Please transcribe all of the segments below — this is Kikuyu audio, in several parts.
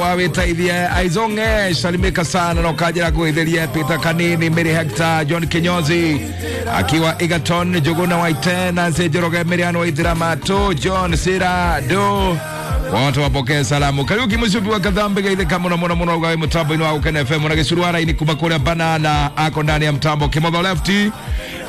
Wawiteithie Aizonge, salimika sana na ukajira kuitheria Peter Kanini, Mary Hector, John Kinyozi akiwa Egerton, Juguna Waite, Nancy Njoroge, Miriam Waithira Matu, John Sira Do, wote wapokee salamu. Kariuki Mucubi wa Kathambi geithika muno muno muno ugawe mutambo-inĩ wa Gũkena FM na gĩcurwara-inĩ kuma kũrĩa Banana ako ndani ya mtambo. Kimotho Lefty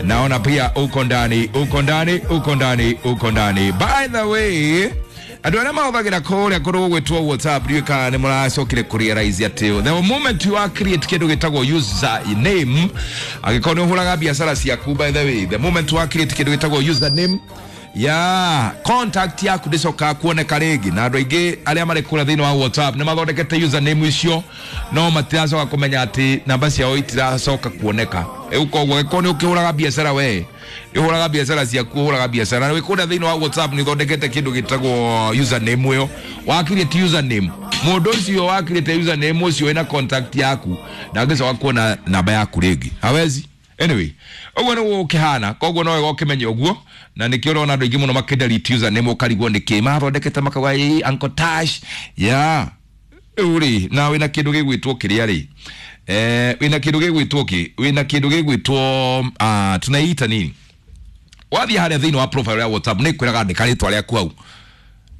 naona pia uko ndani, uko ndani, uko ndani, uko ndani. By the way, andå arä a mahåthagä kå rä a kå rå gwä WhatsApp, ndiå kana nä må racokire kå realize atä the moment you are create kä ndå gä tagwo user name, angä korwo nä å hå raga biacara ciaku, by the way, the moment you are create kä ndå gä tagwo user name ya contact yaku ndĩcokaga kuoneka rĩngĩ. Na andũ aingĩ arĩa marĩ kũrĩa thĩinĩ wa WhatsApp nĩ mathondekete username icio, no matiracoka kũmenya atĩ namba ciao itiracoka kuoneka. Rĩu koguo angĩkorwo nĩ ũkĩhũraga biacara, we ũhũraga biacara ciaku, ũhũraga biacara na wĩ kũrĩa thĩinĩ wa WhatsApp, nĩ ũthondekete kĩndũ gĩtagwo username ĩyo, wa create username, mũndũ ũcio wa create username ũcio wĩna contact yaku ndangĩcoka kuona namba yaku rĩngĩ, hawezi. Anyway, ũguo nĩguo ũkĩhana, koguo no wega ũkĩmenye ũguo, na nĩkĩo ũrona andũ aingĩ mũno makĩdelete username, ũkarigwo nĩkĩ mathondekete, makauga ĩ Uncle Tash ya rĩu rĩ, na wĩna kĩndũ gĩgwĩtwo kĩrĩa rĩ, wĩna kĩndũ gĩgwĩtwo kĩ, wĩna kĩndũ gĩgwĩtwo tunaita nini, wathiĩ harĩa thĩinĩ wa profile ya WhatsApp nĩ kwĩraga andĩka rĩtwa rĩaku hau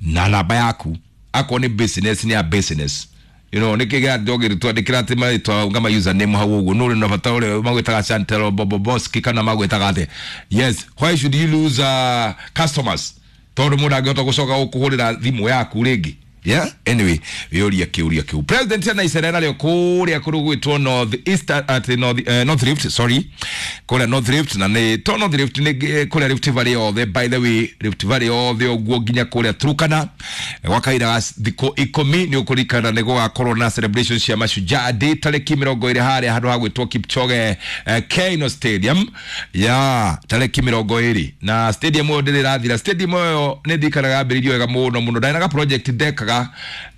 na namba yaku, akorwo nĩ business, nĩ ya business, nä kä gä kä marĩtwa ngama username hau ũguo nũ na bata ũrĩa magwĩtaga Chantel Boboboski kana magwĩtaga atĩa. Yes, why should you lose customers tondũ mũndũ angĩhota gũcoka gũkũhũrĩra thimũ yaku rĩngĩ? Yeah, anyway, wĩũria kĩũria kĩu. President ena icera narĩo kũrĩa kũrĩ gwĩtwo North East, at North, North Rift, sorry, kũrĩa North Rift, na nĩ to North Rift, nĩ kũrĩa Rift Valley yothe, by the way, Rift Valley yothe ũguo nginya kũrĩa Turkana, gwa kahinda ga thikũ 10. Nĩ ũkũririkana nĩ gũgakorwo na celebration cia Mashujaa Day tarĩki 20 harĩa handũ ha gwĩtwo Kipchoge Keino Stadium ya tarĩki 20, na stadium ĩyo ndĩrĩ ĩrathira. Stadium ĩyo nĩ ndirikanaga yambĩrĩirio wega mũno mũno. Ndarĩ na ga project ndekaga,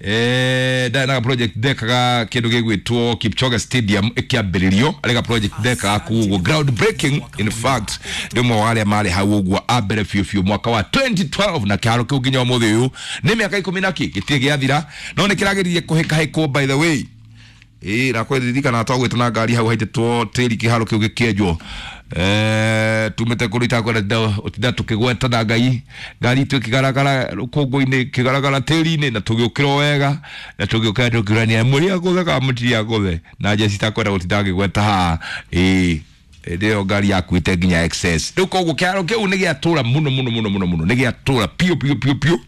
ndarĩ na ga project ndekaga kĩndũ gĩgwĩtwo Kipchoge Stadium ĩkĩambĩrĩrio, arĩ ga project ndekaga kũu ũguo, ground breaking. In fact, ndĩ ũmwe wa arĩa marĩ hau ũguo a mbere biũ biũ mwaka wa 2012, na kĩharo kĩu nginya ũmũthĩ ũyũ nĩ mĩaka 10 na kĩ gĩtirĩ gĩathira, no nĩ kĩrageririe kũhĩkahĩkwo, by the way. Ĩĩ, na kwĩririkana twagwĩte na ngari hau haitĩtwo tĩri kĩharo kĩu gĩkĩenjwo, tumĩte kũrĩa itakwenda ũtinda tũkĩgweta, na ngai ngari itũ ĩkĩgaragara rũkũngũ-inĩ, ĩkĩgaragara tĩri-inĩ, na tũgĩũkĩra o wega na tũgĩũkĩra tũkĩũrania mũrĩ agũthe kana mũtirĩ agũthe, na njeci itakwenda gũtinda ngĩgweta haha. Ĩĩ, hĩndĩ ĩyo ngari yakuĩte nginya excess. Rĩu koguo kĩharo kĩu nĩ gĩatũra mũno mũno mũno mũno mũno, nĩ gĩatũra piũ piũ piũ piũ,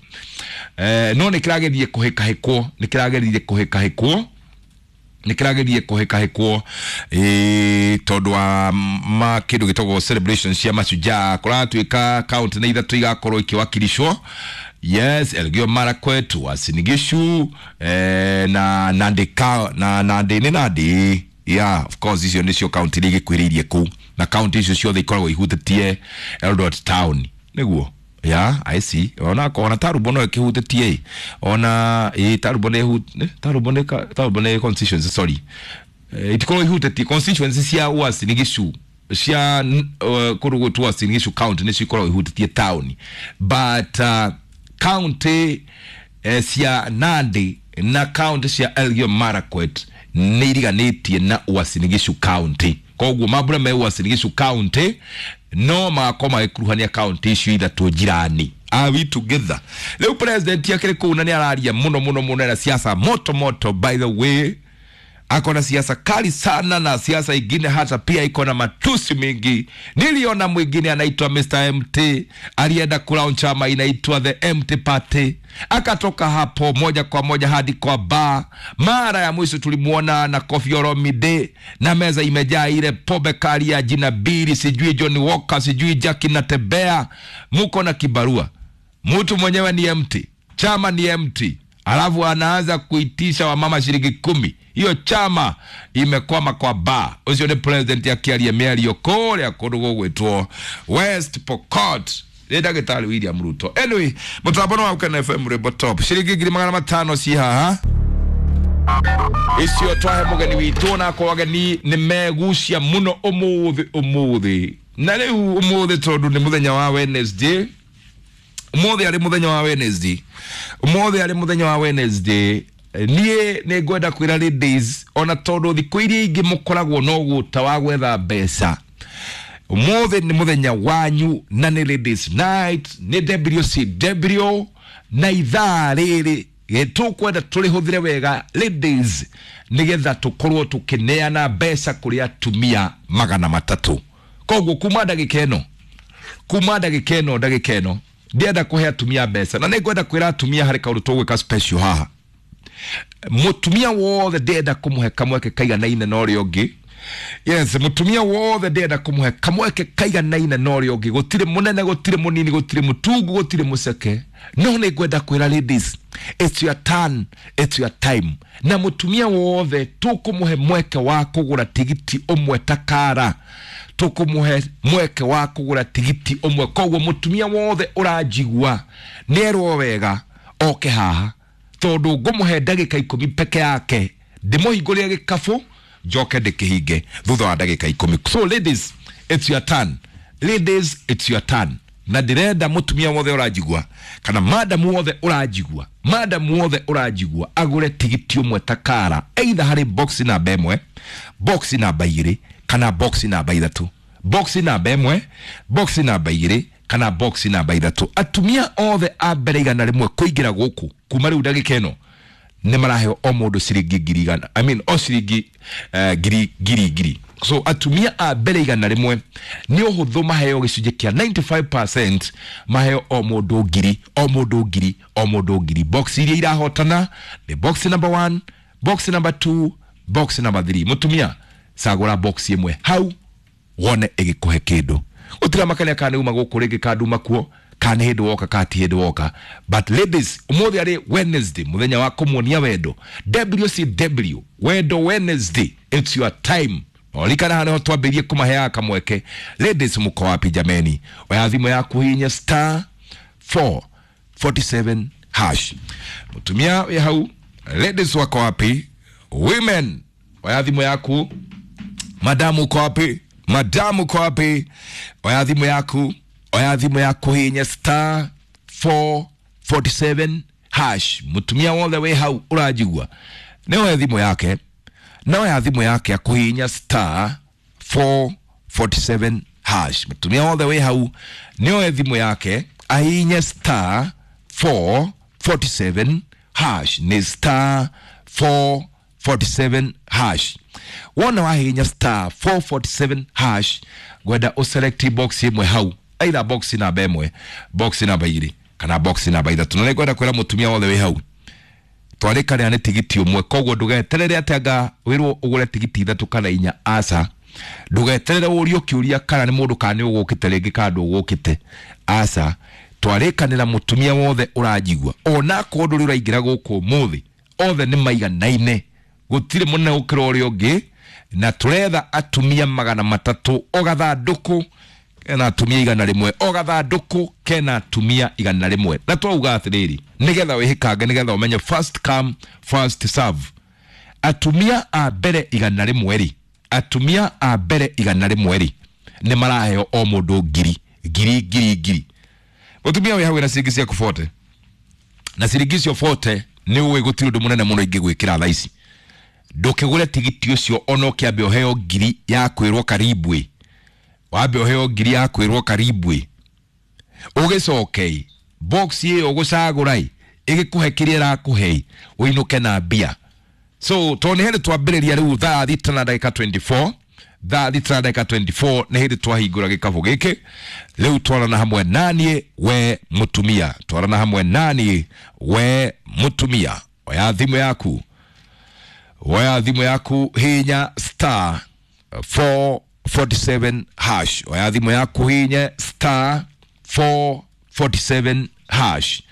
no nĩ kĩragerie kũhĩkahĩkwo, nĩ kĩragerie kũhĩkahĩkwo, nä kä ragerie kå hä kahä kwo tondå wa ma kä ndå gä tagwo celebration cia Mashujaa. Kå ratuä ka kaunti nä ithatå igakorwo ikiwakilishwo, yes, Elgeyo Marakwet, Uasin Gishu, na Nandi ka na Nandi, nĩ Nandi, yeah, of course. Icio nĩcio kaunti iria igĩkuhĩrĩirie kũu, na kaunti icio ciothe ikoragwo ihutĩtie Eldoret town nĩguo. Yeah, I see. Ona ona Tarumbo no ĩkĩhutĩtie, ona ĩ Tarumbo nĩ Tarumbo nĩ Tarumbo nĩ constituency, sorry, itikorwo ihutĩtie constituency cia Uasin Gishu, cia kũndũ gwĩtwo Uasin Gishu county nĩcio ikoragwo ihutĩtie town, but county cia Nandi na county cia Elgeyo Marakwet nĩ iriganĩtie na Uasin Gishu county, koguo mambura me Uasin Gishu county no magakorwo magĩkuruhania county icio ithatũ jirani. Are we together? Rĩu president akĩrĩ kũu na nĩ araria mũno mũno mũno na siasa moto moto, by the way, ako na siasa kali sana na siasa ingine hata pia iko na matusi mingi. Niliona mwingine anaitwa Mr. MT alienda kulaunch chama inaitwa the MT Party, akatoka hapo moja kwa moja hadi kwa bar. Mara ya mwisho tulimuona na Koffi Olomide na meza imejaa ile pombe kali ya jina bili, sijui John Walker, sijui Jackie Natembea. Muko na kibarua, mtu mwenyewe ni empty, chama ni empty, alafu anaanza kuitisha wamama shilingi 10. Hiyo chama imekwama kwa ba. Ucio nĩ president akĩaria mĩario kũrĩa kũndũ gũgwĩtwo West Pokot, nĩ ndagĩtarĩ William Ruto. Anyway, mũtambo nĩ wa Gũkena FM, rwĩmbo top, ciringi 500,000 ci haha icio twahe mũgeni witũ, na akorwo ageni nĩ megucia mũno ũmũthĩ ũmũthĩ. Na rĩu ũmũthĩ tondũ nĩ mũthenya wa Wednesday, ũmũthĩ arĩ mũthenya wa Wednesday, ũmũthĩ arĩ mũthenya wa Wednesday. Niĩ nĩ ngwenda kwĩra ladies, ona tondũ thikũ iria ingĩ mũkoragwo no gũta wa gwetha mbeca, ũmũthĩ nĩ mũthenya wanyu na nĩ ladies night, nĩ WCW, na ithaa rĩrĩ tũkwenda tũrĩhũthĩre wega ladies, nĩgetha tũkorwo tũkĩneana mbeca kũrĩ atumia 300. Koguo kuma ndagĩka ĩno, kuma ndagĩka ĩno, ndagĩka ĩno ndĩrenda kũhe atumia mbeca, na nĩ ngwenda kwĩra atumia harĩ kaũndũ tũgwĩka special haha. Mũtumia wothe ndĩrenda kũmũhe kamweke kaiganaine na ũrĩa ũngĩ. Yes, mũtumia wothe ndĩrenda kũmũhe kamweke kaiganaine na ũrĩa ũngĩ. Gũtirĩ mũnene, gũtirĩ mũnini, gũtirĩ mũtungu, gũtirĩ mũceke. No nĩ ngwenda kwĩra ladies, it's your turn, it's your time. Na mũtumia wothe tũkũmũhe mweke wa kũgũra tigiti ũmwe takara, tũkũmũhe mweke wa kũgũra tigiti ũmwe. Koguo mũtumia wothe ũranjigua nĩerwo wega oke haha, tondũ ngũmũhe ndagĩka 10 peke yake, ndĩmũhingũrĩre gĩkabũ njoke ndĩkĩhinge thutha wa ndagĩka 10. So ladies, it's your turn. Ladies, it's your turn. Na ndĩrenda mũtumia wothe ũranjigua, kana madamu wothe ũranjigua, madamu wothe ũranjigua agũre tigiti ũmwe takara, either harĩ box namba 1, box namba 2, kana box namba 3. Box namba 1, box namba 2, kana box namba 3. Atumia othe a mbere 100 kũingĩra gũkũ kuma rĩu ndagĩka ĩno nĩ maraheo o mũndũ ciringi ngiri igana, I mean, o ciringi ngiri ngiri ngiri. So atumia a mbere 100 nĩ ũhũthũ maheo gĩcunjĩ kĩa 95%, maheo o mũndũ ngiri, o mũndũ ngiri, o mũndũ ngiri. Box iria irahotana nĩ box number 1, box number 2, box number 3. Mũtumia cagũra box ĩmwe hau wone ĩgĩkũhe kĩndũ. Gũtirĩ makania kana nĩ uma gũkũ rĩngĩ kana nduma kuo, kana nĩ hĩndĩ woka kana ti hĩndĩ woka. But ladies, ũmũthĩ arĩ Wednesday, mũthenya wa kũmuonia wendo. WCW, Wendo Wednesday, it's your time. Olikana haha nĩho twambĩrĩrie kũmaheaga kamweke. Ladies, mũko wapi jameni? Oya thimũ yaku hihinya star 447 hash. Mũtumia wĩ hau, ladies wako wapi? Women, oya thimũ yaku. Madamu uko wapi? Madamu uko wapi? Oya thimũ yaku. Oya thimũ yaku hihinya star 447 hash. Mũtumia wothe wĩ hau ũranjigua, nĩ oya thimũ yake, na oya thimũ yake akũhihinya star 447 hash. Mũtumia wothe wĩ hau nĩ oe thimũ yake ahihinye star 447 hash. Nĩ star 447 hash. Wona wahihinya star 447 hash, ngwenda ũselect box ĩmwe hau, either box namba 1, box namba 2, kana box namba 3. Na nĩngwenda kwĩra mũtumia wothe wĩ hau, twarĩkanĩra nĩ tigiti ũmwe, koguo ndũgeterere atĩ anga wĩrwo ũgũre tigiti 3 kana 4. Aca, ndũgeterere ũrio kĩũria kana nĩ mũndũ kana nĩ ũgũkĩte rĩngĩ kana ndũgũkĩte. Aca, twarĩkanĩra mũtumia wothe ũranjigua, ona akorwo ndũrĩ ũraingĩra gũkũ ũmũthĩ, othe nĩ maiganaine, gũtirĩ mũnene gũkĩra ũrĩa ũngĩ, na tũretha atumia 300 o gathandũkũ kena atumia 100, o gathandũkũ kena atumia 100. Na twauga atĩrĩrĩ, nĩgetha wĩhĩkange, nĩgetha ũmenye first come first serve. Atumia a mbere 100 rĩ, atumia a mbere 100 rĩ, nĩ maraheo o mũndũ ngiri ngiri ngiri ngiri. Mũtumia wĩ hau wĩna ciringi ciaku 40, na ciringi icio 40 nĩ ũĩ gũtirĩ ũndũ mũnene mũno ingĩgwĩkĩra thaa ici. Ndũkĩgũre tigiti ũcio ona ũkĩambe ũheo ngiri ya kwĩrwo karibu ĩ, wambe ũheo ngiri ya kwĩrwo karibu ĩ, ũgĩcoke box ĩyo ũgũcagũra ĩ, ĩgĩkũhe kĩrĩa ĩrakũhe, ũinũke na mbia. So tondũ nĩ hĩndĩ twambĩrĩria rĩu thaa thita na ndagĩka 24, thaa thita na ndagĩka 24 nĩ hĩndĩ twahingũra gĩkabũ gĩkĩ. Rĩu twarana hamwe naniĩ we mũtumia, twarana hamwe naniĩ we mũtumia. Oya thimũ yaku, oya thimũ yaku, hinya star 447 hash. Oya thimũ yaku, hinya star 447 hash.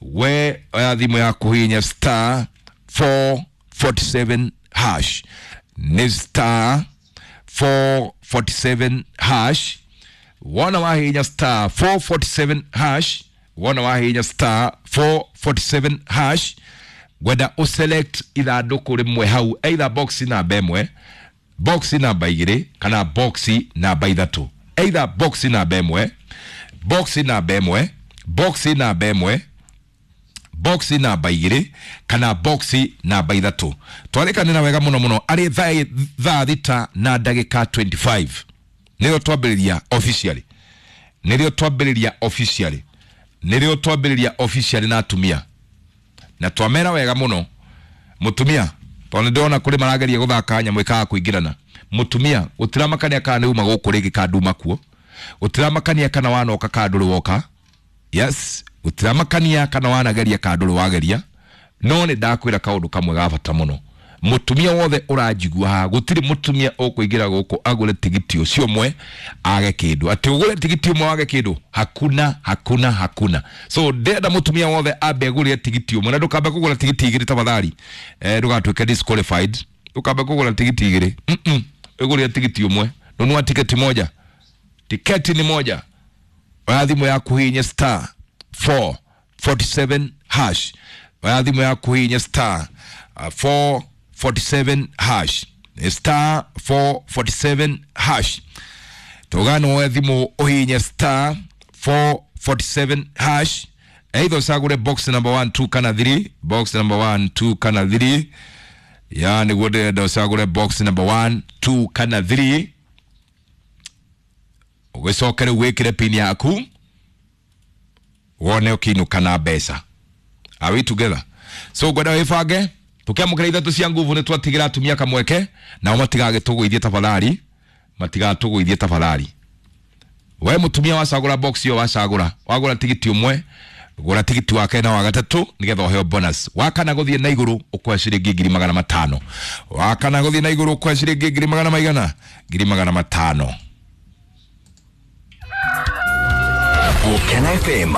We oya thimũ yaku, hinya star 447 hash. Nĩ star 447 hash. Wona wahinya star 447 hash, wona wahinya star 447 hash, ngwenda ũselect ithandũkũ rĩmwe hau, either box namba 1, box namba 2, kana box namba 3. Either box namba 1, box namba 1, box namba 1, Box namba 2 kana box namba 3. Twarĩkanĩra wega mũno mũno arĩ thaa 6 na ndagĩka 25 nĩrĩo twambĩrĩria officially, nĩrĩo twambĩrĩria officially, nĩrĩo twambĩrĩria officially na atumia, na twamera wega mũno mũtumia, tondũ nĩndĩrona kũrĩ marageria gũthaka nyamũ ĩkaga kũingĩrana. Mũtumia gũtiramakania kana nĩ uma gũkũ rĩngĩ kana nduma kuo, gũtiramakania kana wanoka kana ndũrĩ woka, yes, gũtiramakania kana wanageria kana ndũrĩ wageria, no nĩ ndakwĩra kaũndũ kamwe ga bata mũno. Mũtumia wothe ũranjigua haha, gũtirĩ mũtumia ũkũingĩra gũkũ agũre tigiti ũcio ũmwe age kĩndũ, atĩ ũgũre tigiti ũmwe wage kĩndũ, hakuna hakuna hakuna. So ndĩrenda mũtumia wothe ambe agũrĩre tigiti ũmwe, na ndũkambe kũgũra tigiti igĩrĩ tafadhali, ndũgatuĩke disqualified, ndũkambe kũgũra tigiti igĩrĩ, ũgũrĩre tigiti ũmwe, nunua tiketi moja, tiketi ni moja. Oya thimũ yaku hihinya star 447 hash, oya thimũ yaku hihinya star 447 hash, star 447 hash. Tugano woe thimũ ũhihinye star 447 hash, either ũcagũre box number 1 2 kana 3, box number 1 2 kana 3, ya nĩguo ndĩrenda ũcagũre box number 1 2 kana 3, ũgĩcoke rĩu wĩkĩre pin yaku wone ũkĩinũka na mbeca. Are we together? So ngwenda wĩbange tũkĩamũkĩra ithatũ cia nguvu nĩ twatigĩra atumia kamweke, nao matigagĩtũgũithie tafadhali, matigatũgũithie tafadhali. We mũtumia wacagũra box ĩyo wacagũra, wagũra tigiti ũmwe, gũra tigiti wa kerĩ na wa gatatũ nĩgetha ũheo bonus. Wa kana gũthiĩ na igũrũ ũkoya ciringi 500,000, wa kana gũthiĩ na igũrũ ũkoya ciringi ngiri magana maigana, 500,000. Gukena FM.